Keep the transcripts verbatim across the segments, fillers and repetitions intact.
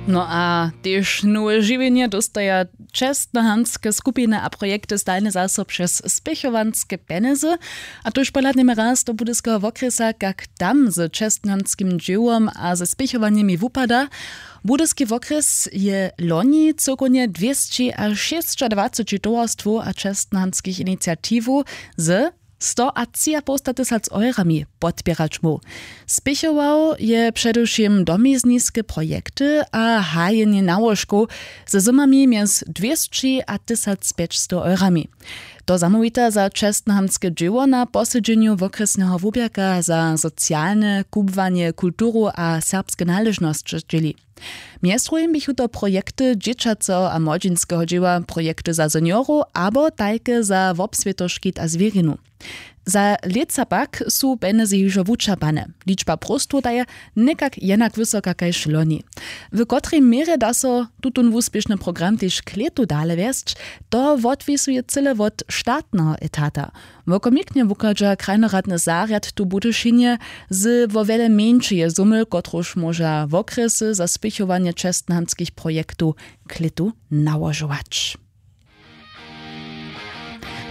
No a tež nowe žiwjenje dóstaja čestnohanske skupiny a projekty stajnje zaso přez spěchowanske pjenjezy. A tuž pohladnjemy raz do budyskeho wokrjesa, kak tam z čestnohanskim dźěłom a ze spěchowanjemi wupada. Budyski wokrjes je loni cyłkownje dwěsći a šěsćadwaceći towarstwow a čestnohanskich iniciatiwow ze sto a tři a poł sta tysac eurami podpěrać móhł. Spěchował je předewšěm domizniske projekty a hajenje nałožkow ze zymami mjez dwěsći a tysac pjećstow eurami. To zamołwita za čestnohamtske dźěło na posedźenju wokrjesneho wuběrka za socialne, kubłanje, kulturu a serbske naležnosće dźěli. Mjez druhim běchu to projekty dźěćaceho a młodźinskeho dźěła, projekty za seniorow abo tajke za wobswětoškit a zwěrinu. Za lětsa pak su pjenjezy hižo wučerpane. Ličba próstow ta je někak jenak wysoka kaž loni. W kotrej měrje da so tutón wuspěšny program tež k lětu dale wjesć, to wotwisuje cyle wot štatneho etata. Wokomiknje wuchadźa krajnoradny zarjad tu w budyšinje z wo wjele mjeńšeje zumyl, kotruž móža wokrjesy za spěchowanje čestnohamtskich projektow k lětu nałožować.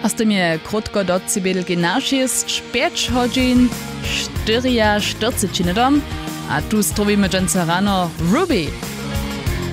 A z tym je krótko do cibědelki na šěsć pjeć hodźin štyriaštyrceći hnydom. A tu strowimy dźensa rano Ruby.